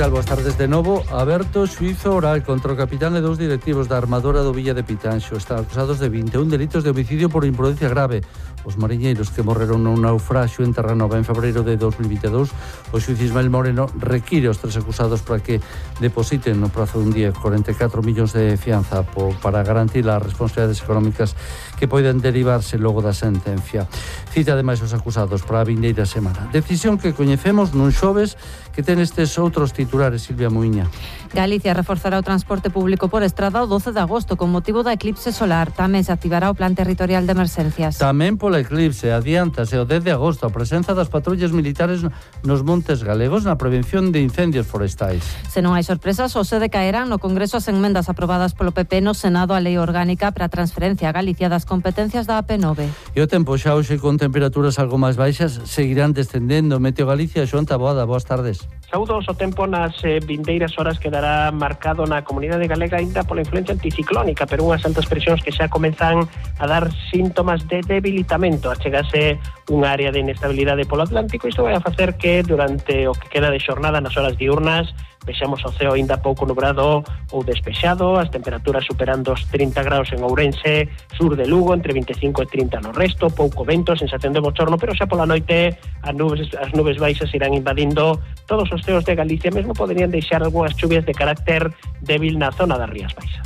tal? Boas tardes de novo. Aberto xuízo oral contra o capitán e 2 directivos da armadora do Villa de Pitanxo. Están acusados de 21 delitos de homicidio por imprudencia grave. Os mariñeiros que morreron nun naufraxio en Terranova en febreiro de 2022, o xuiz Ismael Moreno require aos 3 acusados para que depositen no prazo dun día 44 millóns de fianza para garantir as responsabilidades económicas que poden derivarse logo da sentencia. Cita ademais os acusados para a vindeira semana. Decisión que coñecemos nun xoves que ten estes outros titulares, Silvia Muiña. Galicia reforzará o transporte público por estrada o 12 de agosto con motivo da eclipse solar. Tamén se activará o plan territorial de emerxencias. Tamén pola eclipse adiántase o 10 de agosto a presenza das patrullas militares nos montes galegos na prevención de incendios forestais. Se non hai sorpresas, hoxe decaerán no Congreso as enmendas aprobadas polo PP no Senado a Lei Orgánica para a transferencia a Galicia das competencias da AP9. E o tempo xa hoxe con temperaturas algo máis baixas seguirán descendendo. Meteo Galicia, Xoan Taboada, boas tardes. Saúdos, o tempo nas vindeiras horas quedará marcado na comunidade galega ainda pola influencia anticiclónica, pero unhas altas presións que xa comezan a dar síntomas de debilitamento. Achegase unha área de inestabilidade polo Atlántico. Isto vai a facer que durante o que queda de xornada nas horas diurnas vexamos o ceo ainda pouco nubrado ou despexado, as temperaturas superando os 30 graus en Ourense, sur de Lugo, entre 25 e 30 no resto, pouco vento, sensación de bochorno, pero xa pola noite as nubes baixas irán invadindo todos os ceos de Galicia, mesmo poderían deixar algunhas chuvias de carácter débil na zona das Rías Baixas.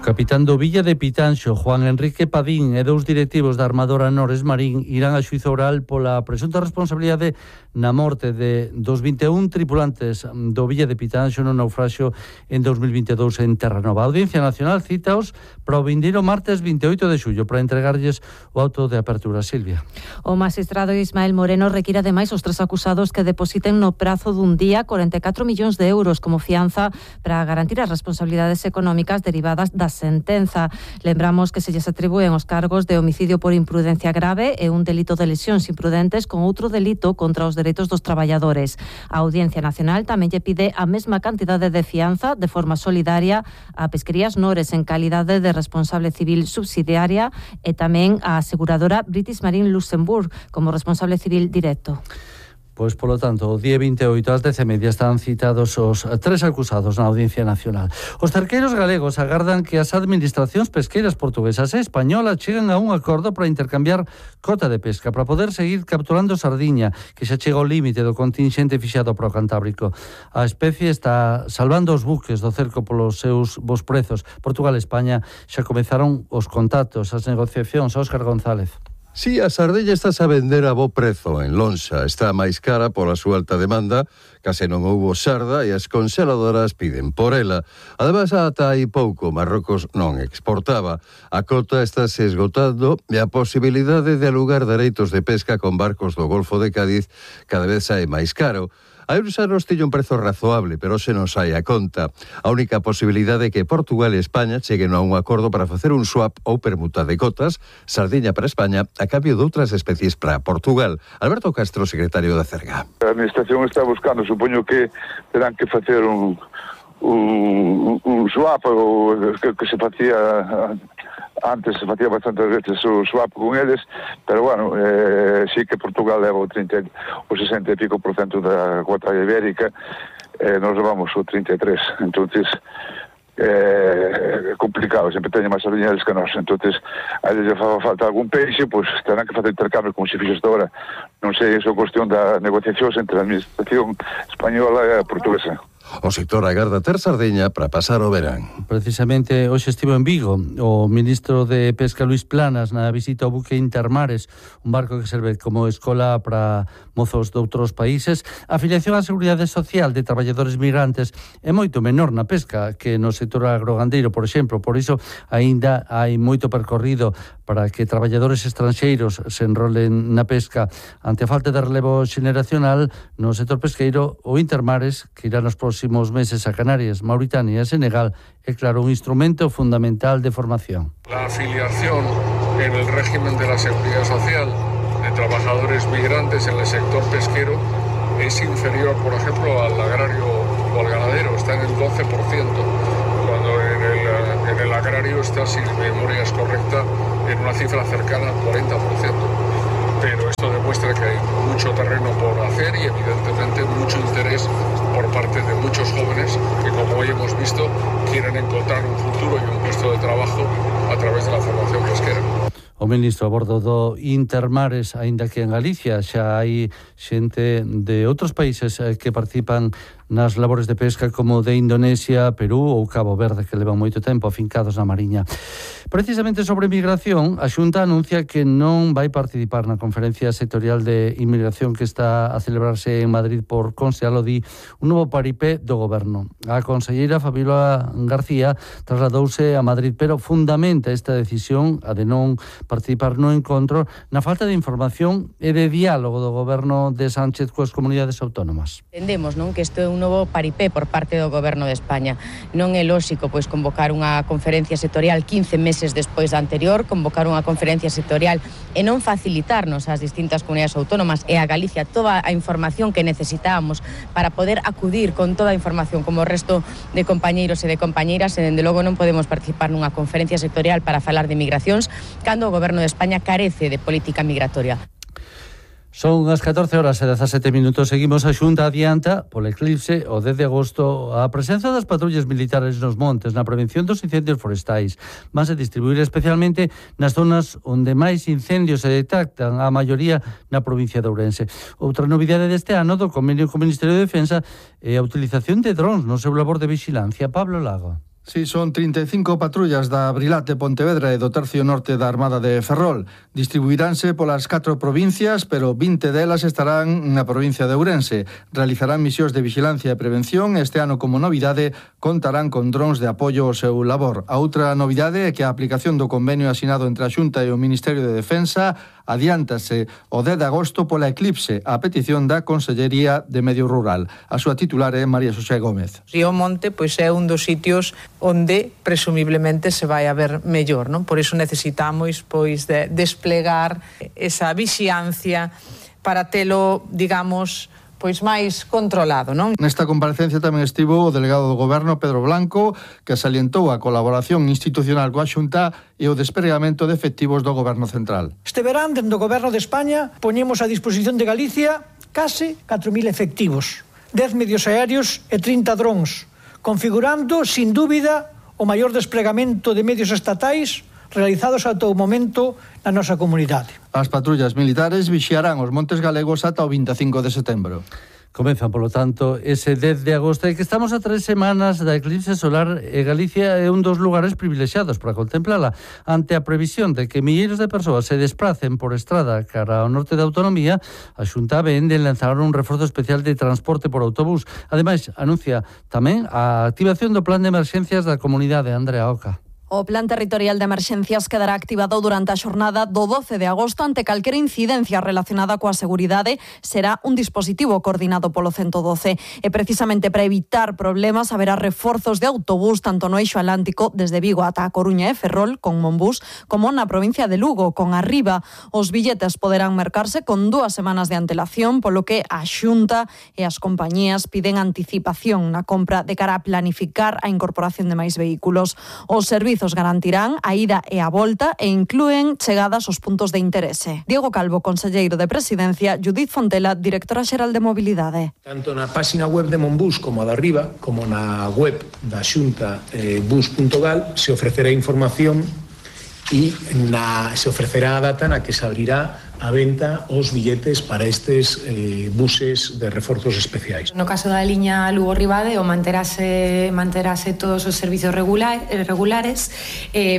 Capitán do Villa de Pitanxo, Juan Enrique Padín, e 2 directivos da armadora Nores Marín irán a xuízo oral pola presunta responsabilidade na morte dos 21 tripulantes do Villa de Pitanxo no naufraxio en 2022 en Terranova. A Audiencia Nacional citaos para o vindeiro martes 28 de xullo para entregarlles o auto de apertura. Silvia. O magistrado Ismael Moreno require ademais os 3 acusados que depositen no prazo dun día 44 millóns de euros como fianza para garantir as responsabilidades económicas derivadas da sentenza. Lembramos que se lles atribúen os cargos de homicidio por imprudencia grave e un delito de lesións imprudentes con outro delito contra os dereitos dos traballadores. A Audiencia Nacional tamén lle pide a mesma cantidade de fianza de forma solidaria a Pesquerías Nores en calidade de responsable civil subsidiaria e tamén a aseguradora British Marine Luxembourg como responsable civil directo. Pois, polo tanto, o día 28 ás 10:30 están citados os 3 acusados na Audiencia Nacional. Os cerqueiros galegos agardan que as administracións pesqueiras portuguesas e españolas cheguen a un acordo para intercambiar cota de pesca para poder seguir capturando sardiña, que xa chega ao límite do contingente fixado para o Cantábrico. A especie está salvando os buques do cerco polos seus bons prezos. Portugal e España xa comezaron os contactos, as negociacións. Óscar González. Si, a sardella está a vender a bo prezo en lonxa. Está máis cara pola súa alta demanda, case non houbo sarda e as conxeladoras piden por ela. Ademais, ata hai pouco, Marrocos non exportaba. A cota está se esgotando e a posibilidade de alugar dereitos de pesca con barcos do Golfo de Cádiz cada vez é máis caro. Hai uns anos tiña un prezo razoable, pero se non sai a conta. A única posibilidade é que Portugal e España cheguen a un acordo para facer un swap ou permuta de cotas, sardiña para España, a cambio de outras especies para Portugal. Alberto Castro, secretario da Cerga. A administración está buscando, supoño que terán que facer un swap ou que se facía antes, se facía bastantes veces o swap con eles, pero bueno, sí que Portugal leva o 60 e pico % da cuota ibérica, nos levamos o 33, entonces é complicado, sempre teñen máis sardiñas que nós, entonces a eles fa falta algún peixe, pois terán que facer intercambio como se fixo hasta ahora. Non sei, iso é cuestión da negociacións entre a administración española e a portuguesa. O sector agarda ter sardiña para pasar o verán. Precisamente hoxe estivo en Vigo o ministro de Pesca Luís Planas na visita ao buque Intermares, un barco que serve como escola para mozos de outros países. A afiliación á Seguridade Social de traballadores migrantes é moito menor na pesca que no sector agrogandeiro, por exemplo. Por iso aínda hai moito percorrido para que traballadores estranxeiros se enrolen na pesca. Ante a falta de relevo xeneracional no sector pesqueiro, o Intermares, que irá nos próximos meses a Canarias, Mauritania e Senegal, é claro un instrumento fundamental de formación. La afiliación en el régimen de la Seguridad Social de trabajadores migrantes en el sector pesquero es inferior, por ejemplo, al agrario o al ganadero, está en el 12%, cuando en el agrario está, si mi memoria es correcta, en una cifra cercana al 40%. Pero esto demuestra que hay mucho terreno por hacer y evidentemente mucho interés por parte de muchos jóvenes que, como hoy hemos visto, quieren encontrar un futuro y un puesto de trabajo a través de la formación pesquera. O ministro a bordo do Intermares, aínda que en Galicia xa hai xente de outros países que participan nas labores de pesca como de Indonesia, Perú ou Cabo Verde, que levan moito tempo afincados na Mariña. Precisamente sobre migración, a Xunta anuncia que non vai participar na conferencia sectorial de inmigración que está a celebrarse en Madrid por Consello di un novo paripé do goberno. A conselleira Fabiola García trasladouse a Madrid, pero fundamenta esta decisión, a de non participar no encontro, na falta de información e de diálogo do goberno de Sánchez coas comunidades autónomas. Entendemos, non, que isto é un novo paripé por parte do goberno de España. Non é lóxico pois convocar unha conferencia sectorial 15 meses despois da anterior, convocar unha conferencia sectorial e non facilitarnos ás distintas comunidades autónomas e a Galicia toda a información que necesitábamos para poder acudir con toda a información como o resto de compañeiros e de compañeiras, e dende logo non podemos participar nunha conferencia sectorial para falar de migracións cando o goberno de España carece de política migratoria. Son as 14 horas e 17 minutos. Seguimos. A Xunta adianta, polo eclipse, o 10 de agosto, a presenza das patrullas militares nos montes na prevención dos incendios forestais. Van a distribuir especialmente nas zonas onde máis incendios se detectan, a maioría na provincia de Ourense. Outra novidade deste ano do convenio co Ministerio de Defensa é a utilización de drons no seu labor de vigilancia. Pablo Lago. Sí, son 35 patrullas da Brilat de Pontevedra e do Tercio Norte da Armada de Ferrol. Distribuiránse polas 4 provincias, pero 20 delas estarán na provincia de Ourense. Realizarán misións de vigilancia e prevención. Este ano, como novidade, contarán con drons de apoio ao seu labor. A outra novidade é que a aplicación do convenio asinado entre a Xunta e o Ministerio de Defensa adiántase o 10 de agosto pola eclipse, a petición da Consellería de Medio Rural. A súa titular é María Xosé Gómez. Río Monte pois é un dos sitios onde presumiblemente se vai a ver mellor, non? Por iso necesitamos pois de desplegar esa vixiancia para telo, digamos, pois máis controlado, non? Nesta comparecencia tamén estivo o delegado do Goberno, Pedro Blanco, que salientou a colaboración institucional coa Xunta e o despregamento de efectivos do Goberno Central. Este verán, dentro do Goberno de España, poñemos a disposición de Galicia case 4.000 efectivos, 10 medios aéreos e 30 drons, configurando, sin dúbida, o maior despregamento de medios estatais realizados ata o momento na nosa comunidade. As patrullas militares vixiarán os montes galegos ata o 25 de setembro. Comezan, polo tanto, ese 10 de agosto, e que estamos a 3 semanas da eclipse solar, e Galicia é un dos lugares privilexiados para contemplala. Ante a previsión de que milleiros de persoas se desplacen por estrada cara ao norte da autonomía, a Xunta vén de lanzar un reforzo especial de transporte por autobús. Ademais, anuncia tamén a activación do plan de emerxencias da comunidade. Andrea Oca. O Plan Territorial de Emerxencias quedará activado durante a xornada do 12 de agosto ante calquera incidencia relacionada coa seguridade. Será un dispositivo coordinado polo 112 e precisamente para evitar problemas haberá reforzos de autobús tanto no eixo atlántico desde Vigo ata a Coruña e Ferrol con Monbús como na provincia de Lugo con Arriba. Os billetes poderán mercarse con 2 semanas de antelación, polo que a Xunta e as compañías piden anticipación na compra de cara a planificar a incorporación de máis vehículos. Os servizos garantirán a ida e a volta e inclúen chegadas aos puntos de interese. Diego Calvo, conselleiro de Presidencia, Judith Fontela, directora xeral de Mobilidade. Tanto na página web de Monbús como a da Arriba, como na web da Xunta bus.gal, se ofrecerá información e se ofrecerá a data na que se abrirá a venta os billetes para estes buses de reforzos especiais. No caso da liña Lugo-Ribadeo manterase todos os servizos regulares,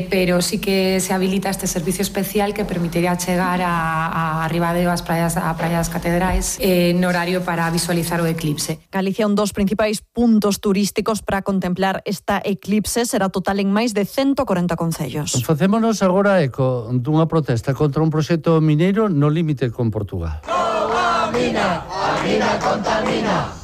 pero sí que se habilita este servicio especial que permitiría chegar a Ribadeo a praias catedrais no horario para visualizar o eclipse. Galicia un dos principais puntos turísticos para contemplar esta eclipse, será total en máis de 140 concellos. Facémonos agora eco dunha protesta contra un proxecto mineiro no límite con Portugal. No a mina contamina.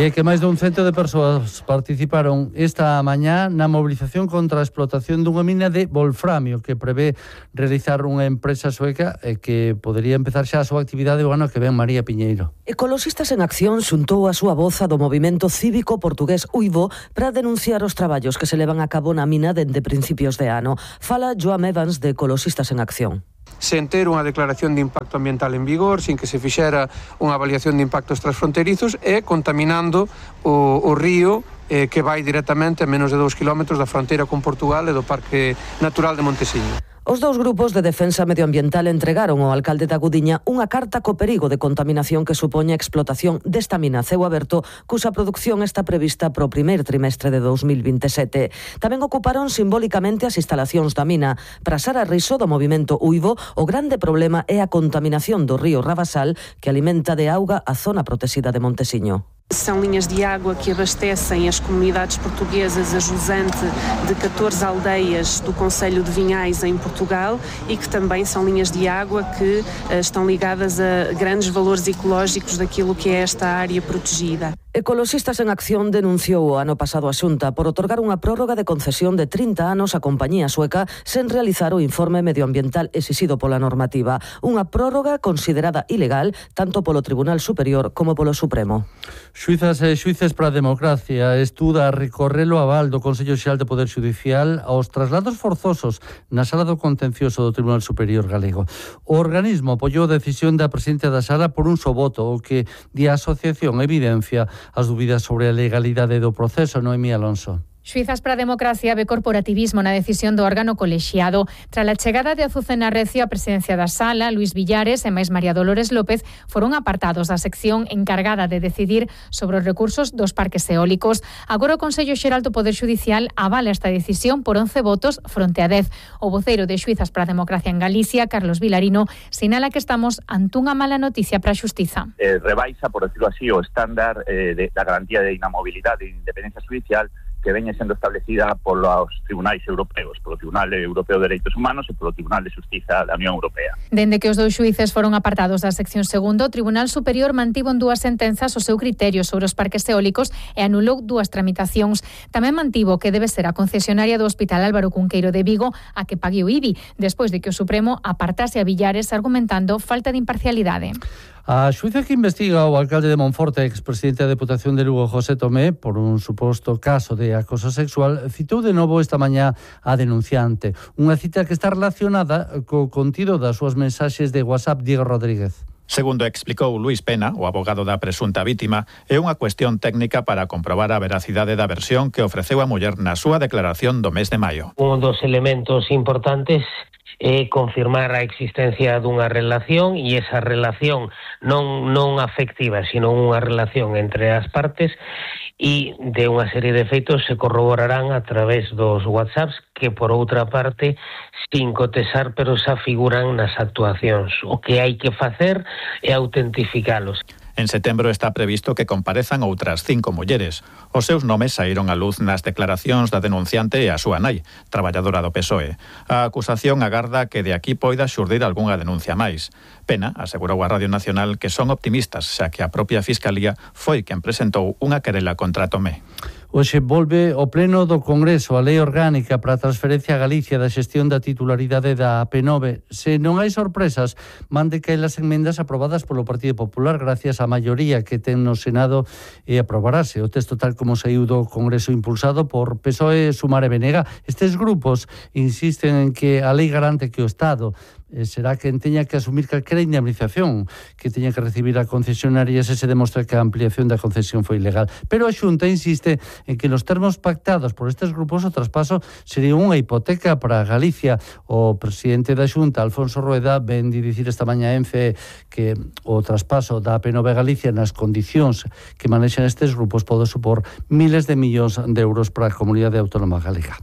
E que máis dun cento de persoas participaron esta mañá na mobilización contra a explotación dunha mina de wolframio que prevé realizar unha empresa sueca e que podería empezar xa a súa actividade o ano que ven. María Piñeiro. Ecoloxistas en Acción xuntou a súa voz a do movimento cívico portugués Uivo para denunciar os traballos que se levan a cabo na mina dende principios de ano. Fala Joan Evans de Ecoloxistas en Acción. sen ter unha declaración de impacto ambiental en vigor, sin que se fixera unha avaliación de impactos transfronterizos e contaminando o río que vai directamente a menos de 2 kilómetros da fronteira con Portugal e do Parque Natural de Montesiño. Os dous grupos de defensa medioambiental entregaron ao alcalde da Gudiña unha carta co perigo de contaminación que supoña a explotación desta mina a ceo aberto, cuxa produción está prevista para o primeiro trimestre de 2027. Tamén ocuparon simbólicamente as instalacións da mina. Para Sara Riso, do movimento Uivo, o grande problema é a contaminación do río Rabasal, que alimenta de auga a zona protexida de Montesiño. São linhas de água que abastecem as comunidades portuguesas a jusante de 14 aldeias do concello de Vinhais em Portugal e que também são linhas de água que estão ligadas a grandes valores ecológicos daquilo que é esta área protegida. Ecoloxistas en Acción denunciou o ano pasado a Xunta por otorgar unha prórroga de concesión de 30 anos á compañía sueca sen realizar o informe medioambiental exixido pola normativa. Unha prórroga considerada ilegal tanto polo Tribunal Superior como polo Supremo. Xuizas e xuíces para a democracia estuda recorrer o aval do Consello Xeral de Poder Xudicial aos traslados forzosos na sala do contencioso do Tribunal Superior Galego. O organismo apoiou a decisión da presidenta da sala por un só voto, o que di a asociación evidencia as dúbidas sobre a legalidade do proceso. Noemí Alonso. Xuizas para a democracia ve corporativismo na decisión do órgano colexiado. Tras a chegada de Azucena Recio á presidencia da sala, Luís Villares e máis María Dolores López foron apartados da sección encargada de decidir sobre os recursos dos parques eólicos. Agora o Consello Xeral do Poder Xudicial avala esta decisión por 11 votos fronte a 10. O voceiro de Xuizas para a democracia en Galicia, Carlos Vilarino, sinala que estamos ante unha mala noticia para a xustiza. Rebaixa, por decirlo así, o estándar da garantía de inamobilidade e independencia judicial que veña sendo establecida polos tribunais europeos, polo Tribunal Europeo de Dereitos Humanos e polo Tribunal de Xustiza da Unión Europea. Dende que os dous xuíces foron apartados da sección segundo, o Tribunal Superior mantivo en 2 sentenzas o seu criterio sobre os parques eólicos e anulou 2 tramitacións. Tamén mantivo que debe ser a concesionaria do Hospital Álvaro Cunqueiro de Vigo a que pague o IBI, despois de que o Supremo apartase a Villares argumentando falta de imparcialidade. A xuíza que investiga o alcalde de Monforte, expresidente da Deputación de Lugo, José Tomé, por un suposto caso de acoso sexual, citou de novo esta mañá a denunciante. Unha cita que está relacionada co contido das súas mensaxes de WhatsApp Diego Rodríguez. Segundo explicou Luís Pena, o abogado da presunta vítima, é unha cuestión técnica para comprobar a veracidade da versión que ofreceu a muller na súa declaración do mes de maio. Un dos elementos importantes é confirmar a existencia dunha relación e esa relación non afectiva, sino unha relación entre as partes e de unha serie de feitos se corroborarán a través dos WhatsApps que, por outra parte, sin cotesar, pero xa figuran nas actuacións. O que hai que facer é autentificalos. En setembro está previsto que comparezan outras 5 mulleres. Os seus nomes saíron á luz nas declaracións da denunciante e a súa nai, traballadora do PSOE. A acusación agarda que de aquí poida xurdir algunha denuncia máis. Pena asegurou a Radio Nacional que son optimistas, xa que a propia Fiscalía foi quen presentou unha querela contra Tomé. Hoxe volve o Pleno do Congreso a Lei Orgánica para a transferencia a Galicia da xestión da titularidade da AP9. Se non hai sorpresas, mande caer as enmendas aprobadas polo Partido Popular gracias á maioría que ten no Senado e aprobarase. O texto tal como saiu do Congreso impulsado por PSOE, Sumar e Benega. Estes grupos insisten en que a lei garante que o Estado será quen teña que asumir calquera indemnización que teña que recibir a concesionaria se demostra que a ampliación da concesión foi ilegal. Pero a Xunta insiste en que nos termos pactados por estes grupos o traspaso sería unha hipoteca para Galicia. O presidente da Xunta, Alfonso Rueda, ven de dicir esta mañá en FE que o traspaso da AP9 Galicia nas condicións que manexan estes grupos pode supor miles de millóns de euros para a comunidade autónoma galega.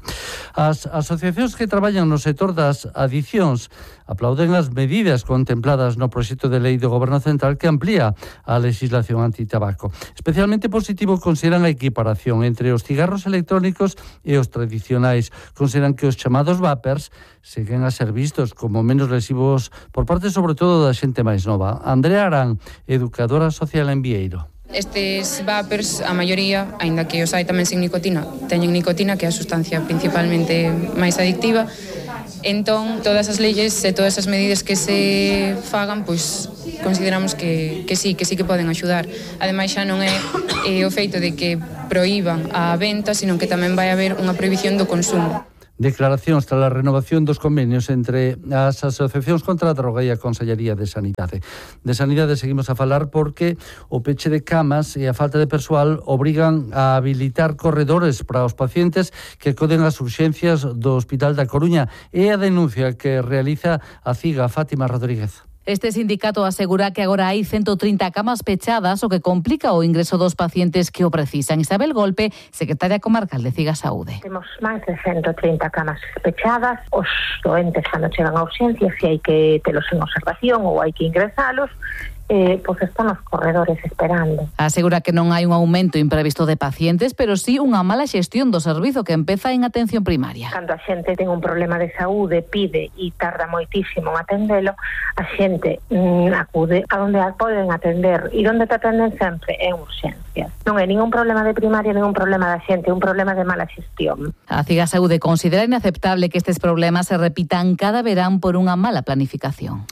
As asociacións que traballan no sector das adicións aplauden as medidas contempladas no proxecto de lei do Goberno Central que amplía a legislación antitabaco. Especialmente positivo consideran a equiparación entre os cigarros electrónicos e os tradicionais. Consideran que os chamados vapers seguen a ser vistos como menos lesivos por parte sobre todo da xente máis nova. Andrea Arán, educadora social en Vieiro. Estes vapers, a maioría, aínda que os hai tamén sin nicotina, teñen nicotina, que é a sustancia principalmente máis adictiva. Entón, todas as leyes e todas as medidas que se fagan, pois consideramos que sí que poden axudar. Ademais, xa non é o feito de que proíban a venta, sino que tamén vai haber unha prohibición do consumo. declaracións tras a renovación dos convenios entre as asociacións contra a droga e a Consellería de Sanidade. De Sanidade seguimos a falar porque o peche de camas e a falta de persoal obrigan a habilitar corredores para os pacientes que acoden ás urxencias do Hospital da Coruña. É a denuncia que realiza a CIGA, Fátima Rodríguez. Este sindicato asegura que agora hai 130 camas pechadas, o que complica o ingreso dos pacientes que o precisan. Isabel Golpe, secretaria comarcal de CIGA Saúde. Temos máis de 130 camas pechadas. Os doentes cando chegan a urxencias, se hai que telos en observación ou hai que ingresalos, pois están os corredores esperando. Asegura que non hai un aumento imprevisto de pacientes, pero sí unha mala xestión do servizo que empeza en atención primaria. Cando a xente ten un problema de saúde, pide e tarda moitísimo en atendelo, a xente acude a onde a poden atender e onde te atenden sempre en urxencias. Non é ningún problema de primaria, ningún problema da xente, é un problema de mala xestión. A CIGA Saúde considera inaceptable que estes problemas se repitan cada verán por unha mala planificación.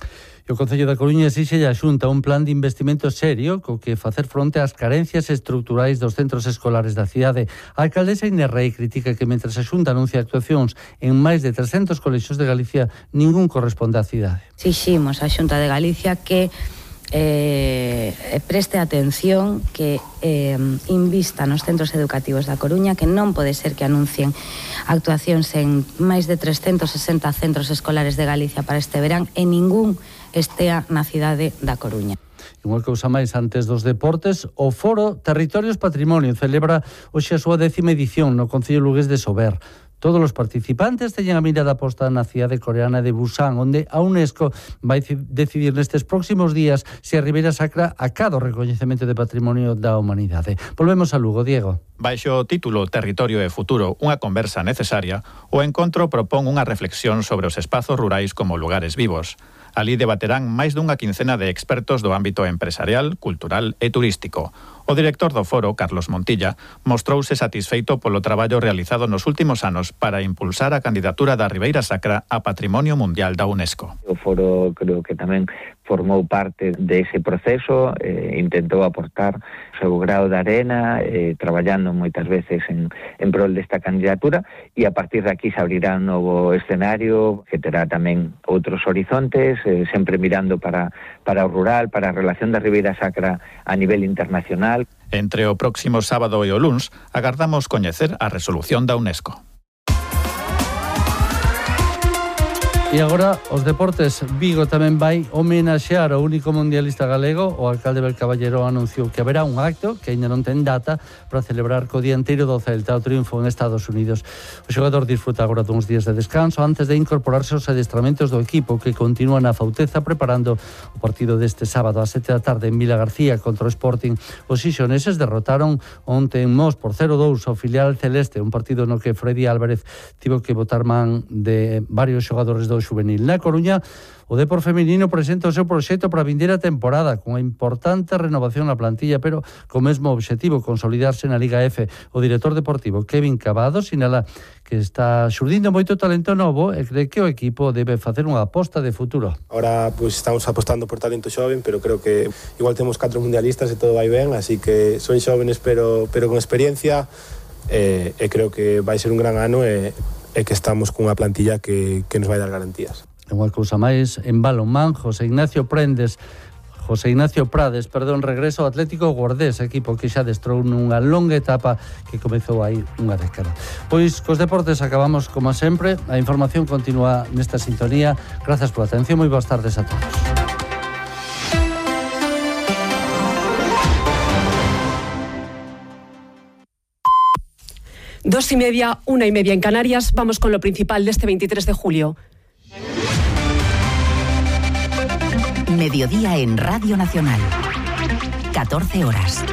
O Concello da Coruña exixe a Xunta un plan de investimento serio co que facer fronte ás carencias estruturais dos centros escolares da cidade. A alcaldesa Inés Rei critica que mentres a Xunta anuncia actuacións en máis de 300 colexios de Galicia, ningún corresponde á cidade. Exiximos á Xunta de Galicia que preste atención, que invista nos centros educativos da Coruña, que non pode ser que anuncien actuacións en máis de 360 centros escolares de Galicia para este verán e ningún estea na cidade da Coruña. Unha cousa máis antes dos deportes, o Foro Territorios Patrimonio celebra hoxe a súa 10ª edición no Concello lugués de Sober. Todos os participantes teñen a mirada posta na cidade coreana de Busan, onde a UNESCO vai decidir nestes próximos días se a Ribeira Sacra acada o recoñecemento de Patrimonio da Humanidade. Volvemos a Lugo, Diego. Baixo o título Territorio e Futuro, unha conversa necesaria, o encontro propón unha reflexión sobre os espazos rurais como lugares vivos. Alí debaterán máis dunha quincena de expertos do ámbito empresarial, cultural e turístico. O director do foro, Carlos Montilla, mostrouse satisfeito polo traballo realizado nos últimos anos para impulsar a candidatura da Ribeira Sacra a Patrimonio Mundial da UNESCO. O foro creo que tamén formou parte dese proceso, intentou aportar o seu grao de arena, traballando moitas veces en prol desta candidatura, e a partir de aquí se abrirá un novo escenario que terá tamén outros horizontes, sempre mirando para o rural, para a relación da Ribeira Sacra a nivel internacional. Entre o próximo sábado e o luns, agardamos coñecer a resolución da UNESCO. E agora, os deportes. Vigo tamén vai homenaxear ao único mundialista galego. O alcalde Bel Caballero anunciou que haberá un acto que aínda non ten data para celebrar co dianteiro do Celta o triunfo en Estados Unidos. O xogador disfruta agora duns días de descanso antes de incorporarse aos adestramentos do equipo, que continúa na Fauteza preparando o partido deste sábado a 7 da tarde en Vila García contra o Sporting. Os xixoneses derrotaron onte en Mos por 0-2 ao filial celeste, un partido no que Freddy Álvarez tivo que botar man de varios xogadores do xuvenil. Na Coruña, o Depor feminino presenta o seu proxecto para a vindeira temporada, con a importante renovación na plantilla, pero co mesmo obxectivo, consolidarse na Liga F. O director deportivo Kevin Cavado sinala que está xurdindo moito talento novo e cree que o equipo debe facer unha aposta de futuro. Ahora pues estamos apostando por talento xoven, pero creo que igual temos 4 mundialistas e todo vai ben, así que son xóvenes pero con experiencia, e creo que vai ser un gran ano e que estamos cunha plantilla que nos vai dar garantías. Unha cousa máis, en balonmán, José Ignacio Prades, regreso ao Atlético Guardés, equipo que xa destrou nunha longa etapa que comezou aí unha década. Pois cos deportes acabamos como sempre. A información continúa nesta sintonía. Grazas pola atención, moi boas tardes a todos. 2:30, 1:30 en Canarias. Vamos con lo principal de este 23 de julio. Mediodía en Radio Nacional. 14 horas.